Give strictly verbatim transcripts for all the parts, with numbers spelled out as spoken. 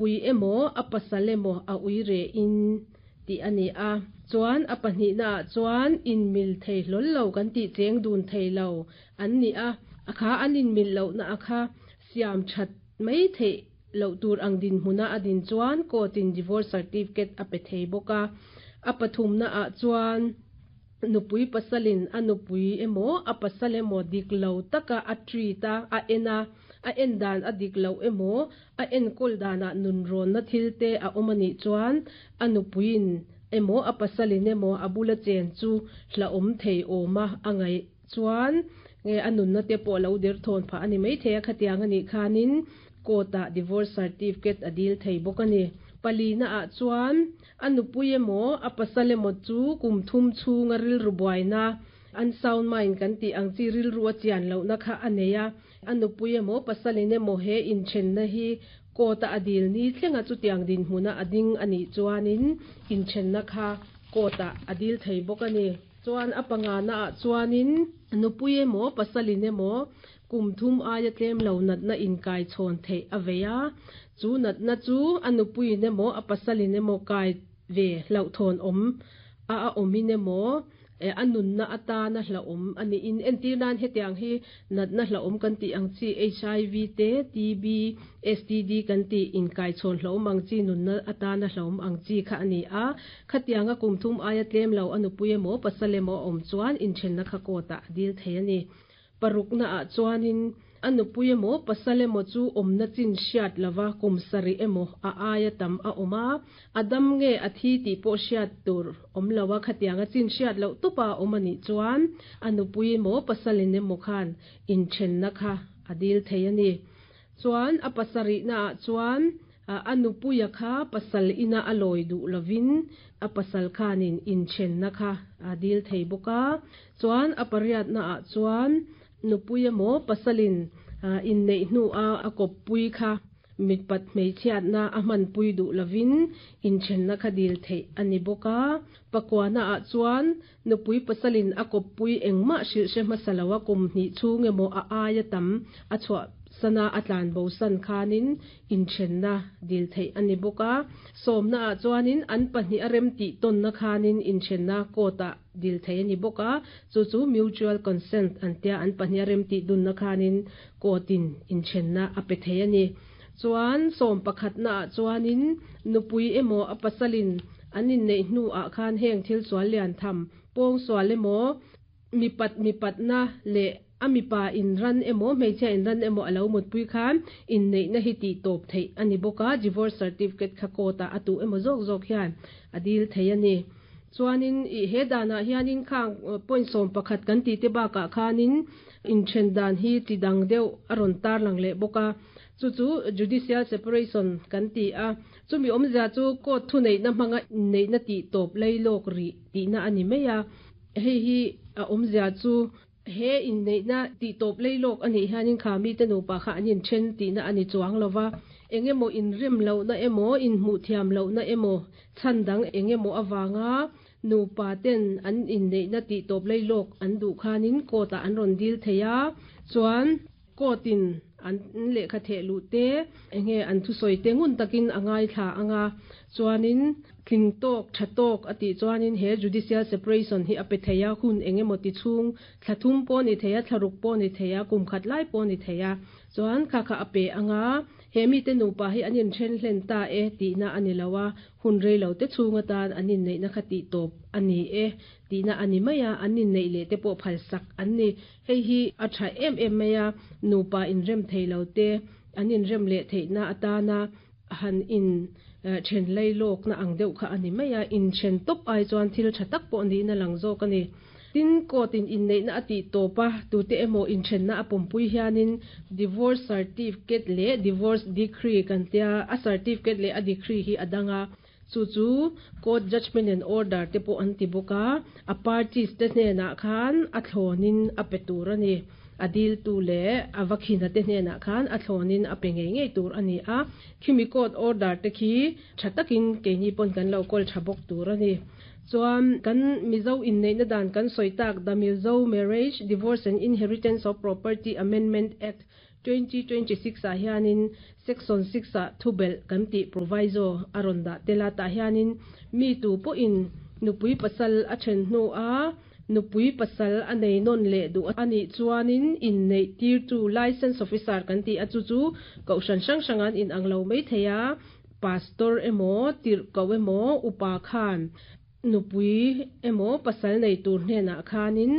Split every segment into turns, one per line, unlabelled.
Pui emaw a pasal emaw a ui re in tih a ni a. Chuan a pahnihna ah chuan inmil thei hlawl lo kan tih cheng dun thei lo an ni a. A kha an inmil lohna a kha siam that mai theih loh tur ang dinhmuna a din chuan court in divorce certificate a pe thei bawk a. A pathumna ah chuan nupui pasalin a nupui emaw a pasal emaw dik lo taka a treat a, a en a, a en dan a dik lo emaw a enkawl danah nunrawnna thil te a awm anih chuan a nupuiin emaw a pasalin emaw a bula chen chu hlauhawm thei awm a a ngaih chuan nge a nunna te pawh lo der thawn phah ani mai thei a khatiang anih khanin court ah divorce certificate a dil thei bawk ani. Palina ah chuan a nupui emaw a pasal emaw chu kum thum chhunga rilru buaina unsound mind kan tih ang chi rilru a chian lohna kha a nei a. A nupui emaw pasalin emaw he inthenna hi court a a dil ni thlenga chutiang dinhmuna a ding anih chuanin inthenna kha court ah a dil thei bawk ani. Chuan a pangana ah chuanin nupui emaw pasalin emaw kum thum aia tlem lo natna inkai chhawn theih a vei a. Chu natna chu a nupuiin emaw a pasalin emaw kai ve hlauhthawn awm a a awmin emaw a nunna atana hlauhawm aniin entir nan hetiang hi natna hlauhawm kan tih ang chi H I V te, T B, S T D kan tih inkai chhawn hlauhawm ang chi, nunna atana hlauhawm ang chi kha ani a. Khatianga kum thum aia tlem lo a nupui emaw pasal emaw a awm chuan inthenna kha court ah a dil thei ani. Parukna ah chuanin a nupui emaw pasal emaw chu awmna chin hriat lova kum sarih emaw a aia tam a awm a, a dam nge a thi tih pawh hriat tur awm lo a, khatianga chin hriat loh tupa awm anih chuan a nupui emaw pasalin emaw khan inthenna kha a dil thei ani. Chuan a pasarihna ah chuan a nupuia kha pasal ina a lawi duh lovin a pasal khanin inthenna kha a dil thei bawk a. Chuan a pariatna ah chuan nupui emaw pasalin inneih hnu a a kawppui kha mipat hmeichhiatna a hmanpui duh lovin inthenna kha dil theih ani bawk a. Pakuana ah chuan nupui pasalin a kawppui engmah hrilh hre hmasa lo a kum hnih chhung emaw a aia tam a chhuah sana a tlan bo san khanin inthenna dil theih ani bawk a. Sawmna ah chuanin an pahnih a rem tih tawnna khanin inthenna court ah dil thei ani bawk a. Chu chu mutual consent an tia, an pahnih a rem tih dunna khanin court in inthenna a pe thei ani. Chuan sawm pakhatna ah chuanin nupui emaw a pasalin an inneih hnu ah khan heng thil sual lian tham pawng sual emaw mipat mipatna leh a mipa inran emaw hmeichhia inran emaw alo mutpui khan inneihna hi tih tawp theih ani bawk a. Divorce certificate kha court ah a tu emaw zawk zawk hian a dil thei ani. Chuanin i he danah hianin khang point sawm pakhat kan tih te bakah khanin inthen dan hi ti dang deuh a rawn tarlang leh bawk a. Chu chu judicial separation kan ti a. Chumi awmzia chu court thu neihna hmanga inneihna tih tawp leilawk rih tihna ani mai a. Hei hi a awmzia chu he inneihna tih tawp leilawk anih hianin kha mi te nupa kha an inthen tihna ani chuang lova. Engemaw inrem lohna emaw inhmuh thiam lohna emaw chhan dang engemaw awanga nupa ten an inneihna tih tawp leilawk an duh khanin court ah an rawn dil thei a. Chuan court in an lehkha theh luh te enge an thusawi te ngun takin a ngai thla anga. Chuanin tling tawk tha tawk a tih chuanin he judicial separation hi a pe thei a. Hun engemaw ti chhung, thla thum pawh ni thei a, thla ruk pawh ni thei a, kum khat lai pawh ni thei a, chuan kha kha a pe anga. He mi te nupa hi an inthen hlen ta e tihna ani lo a. Hun reilo te chhung atan an inneihna kha tih tawp ani e tihna ani mai a. An inneih leh te pawh phal sak an ni. Hei hi a tha em em mai a. Nupa inrem thei lo te an inrem leh theihna atana han in then leilawk na ang deuh kha ani mai a. Inthen tawp ai chuan thil tha tak pawh niin a lang zawk ani. Tin court in inneihna a tih tawp a, tute emaw inthenna a pawmpui hianin divorce certificate leh divorce decree kan tia. A certificate leh a decree hi a danga. Chu chu court judgment and order te pawh an ti bawk a. A parties te hnenah khan a thlawnin a pe tur ani. A dil tu leh a vakhina te hnenah khan a thlawnin a pe ngei ngei tur ani a. Khimi court order te khi tha takin keini pawn kan lo kawl tha bawk tur ani. Chuan kan Mizo inneihna dan kan sawi tak, the Mizo Marriage, Divorce and Inheritance of Property Amendment Act twenty twenty six ah hianin section six ah thubelh kan tih proviso a rawn dah tel a tah hianin mi tu pawhin nupui pasal a then hnu a nupui pasal a nei nawn leh duh anih chuanin inneih tirtu license officer kan tih a chu chu kohhran hrang hrang an inang lo mai thei a pastor emaw tirhkoh emaw upa khan nupui emaw pasal nei tur hnenah khanin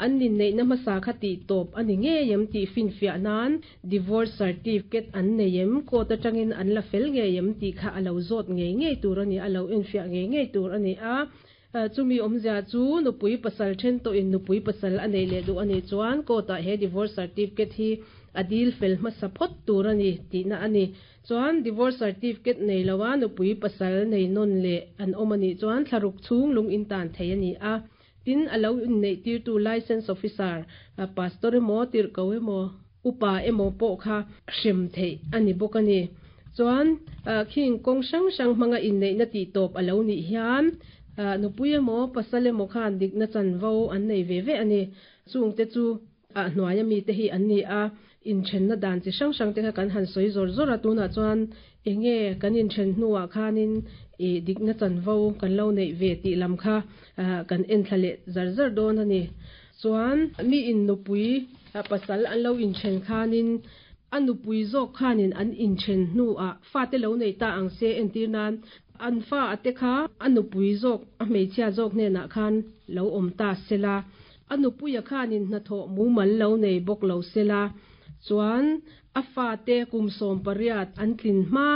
an inneihna hmasa kha tih tawp ani ngei em tih finfiah nan divorce certificate an nei em court atangin an la fel ngei em tih kha a lo zawt ngei ngei tur ani a lo enfiah ngei ngei tur ani a chumi awmzia chu nupui pasal then tawhin nupui pasal a nei leh duh ani chuan court ah he divorce certificate hi a dil fel hmasa phawt tur ani tihna ani chuan divorce certificate nei loa nupui pasal nei nawn leh an awm ani chuan thlaruk chhung lung in tan thei ani a tin a lo inneih tirtu license officer pastor emaw tirhkoh emaw upa emaw pawh kha hrem theih ani bawk ani chuan khing kawng hrang hrang hmanga inneihna tih tawp a lo nih hian nupui emaw pasal emaw khan dikna chanvo an nei ve ve ani chungte chu a hnuai ami te hi an ni a inthenna dan chi hrang hrang te kha kan han sawi zawr zawr a tunah chuan enge kan inthen hnuah khanin ih dikna chanvo kan lo neih ve tih lam kha kan en thla leh zar zar dawn ani chuan mi in nupui pasal an lo inthen khanin a nupui zawk khanin an inthen hnuah fa te lo nei ta ang se entir nan an fa ate kha a nupui zawk a hmeichhia zawk hnenah khan lo awm ta sela a nupuia khanin hnathawh mumal lo nei bawk lo sela chuan a fa te kum sawm pariat an tlin hma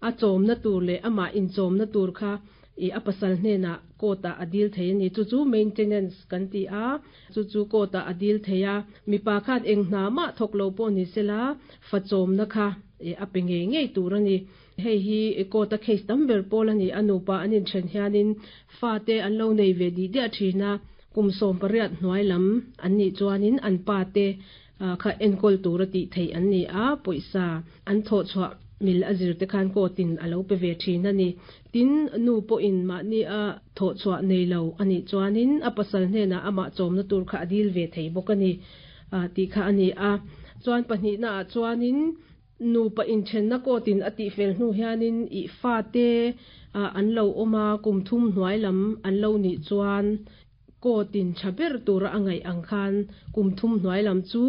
a chawmna tur leh amah inchawmna tur kha ih a pasal hnenah court ah a dil thei ani chu chu maintenance kan ti a chu chu court ah a dil thei a mipa khan eng hna mah thawk lo pawh ni sela fa chawmna kha a pe ngei ngei tur ani hei hi court a case tam ber pawl ani a nupa an inthen hianin fa te an lo nei ve dih diah thin a kum sawm pariat hnuai lam an nih chuanin an pa te kha enkawl tur a tih theih an ni a pawisa an thawh chhuah mil a zir te khan court in a lo pe ve thin ani tin nu pawhin mahni a thawh chhuah nei lo ani chuanin a pasal hnenah amah chawmna tur kha a dil ve thei bawk ani tih kha ani a chuan pahnihna ah chuanin nupa inthenna court in a tih fel hnu hianin ih fa te an lo awm a kum thum hnuai lam an lo nih chuan court in tha ber tura a ngaih ang khan kum thum hnuai lam chu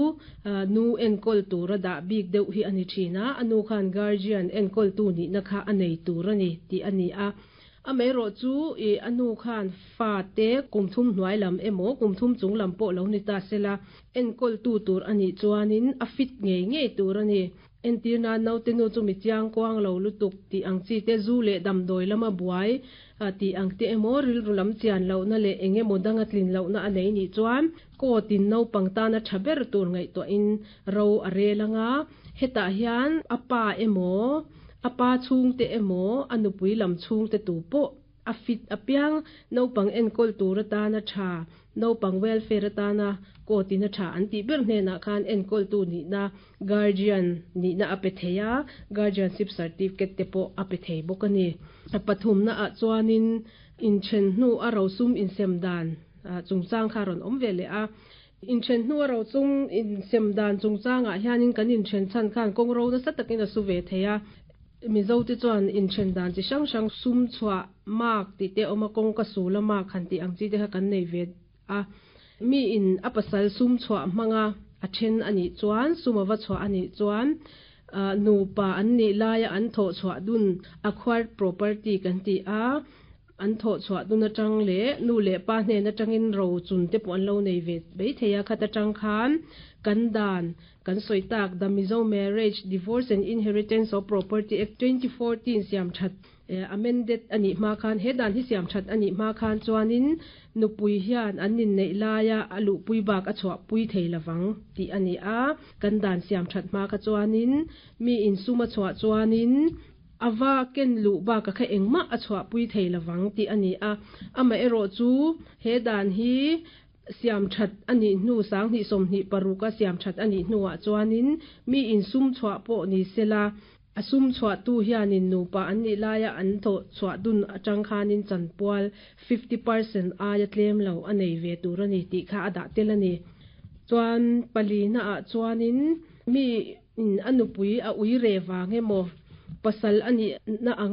nu enkawl tura dah bik deuh hi ani thin a a nu khan guardian enkawl tu nihna kha a nei tur ani tih ani a amaherawh chu ih a nu khan fa te kum thum hnuai lam emaw kum thum chung lam pawh lo ni ta sela enkawl tu tur anih chuanin a fit ngei ngei tur ani entir nan naute nu chu mi chiang kuang lo lutuk tih ang chi te zu leh damdawi lama buai tih ang te emaw rilru lam chian lohna leh eng emaw danga tlin lohna a nei nih chuan court in naupang tana tha ber tur ngaihtuahin ro a rel anga hetah hian a pa emaw a pa chhungte emaw a nupui lam chhungte tu pawh a fit apiang naupang enkawl tur atana tha naupang welfare atana court in a tha an tih ber hnenah khan enkawl tu nihna guardian nihna a pe thei a guardianship certificate te pawh a pe thei bawk ani a pathumna ah chuanin inthen hnu a rosum insem dan chungchang kha rawn awm ve leh a inthen hnu a rosum insem dan chungchangah hianin kan inthen chhan khan kawng ro nasa takin a su ve thei a mizo te chuan inthen dan chi hrang hrang sum chhuah mark tih te awm a kawngka sul a mark han tih ang chi te kha kan nei ve a mi in a pasal sum chhuah hmanga a then anih chuan sum ava chhuah anih chuan nupa an nih laia an thawh chhuah dun acquired property kan ti a an thawh chhuah dun atang leh nu leh pa hnen atangin ro chun te pawh an lo nei ve mai thei a khat atang khan kan dan kan sawi tak the Mizo Marriage Divorce and Inheritance of Property Act twenty fourteen siam that amended ani hma khan he dan hi siam that ani hma khan chuanin nupui hian an in nei laia a luhpui bak a chhuah pui thei lawang tih ani a kan dan siam that hma kha chuanin mi in suma chhuah chuanin awa ken lu ba ka kha engmah a chhuah pui thei lawang tih ani a ama erawh chu he dan hi siam that ani hnu sang hnih sawmhnih paruk a siam that ani hnuah chuanin mi in sum chhuah pawh ni sela a sum chhuah tu hianin nupa an nih laia an thawh chhuah dun atang khanin chanpual fifty percent aia tlem lo a nei ve tur ani tih kha a dah tel ani chuan palina ah chuanin mi in a nupui a uire vang emaw, pasal a nihna anga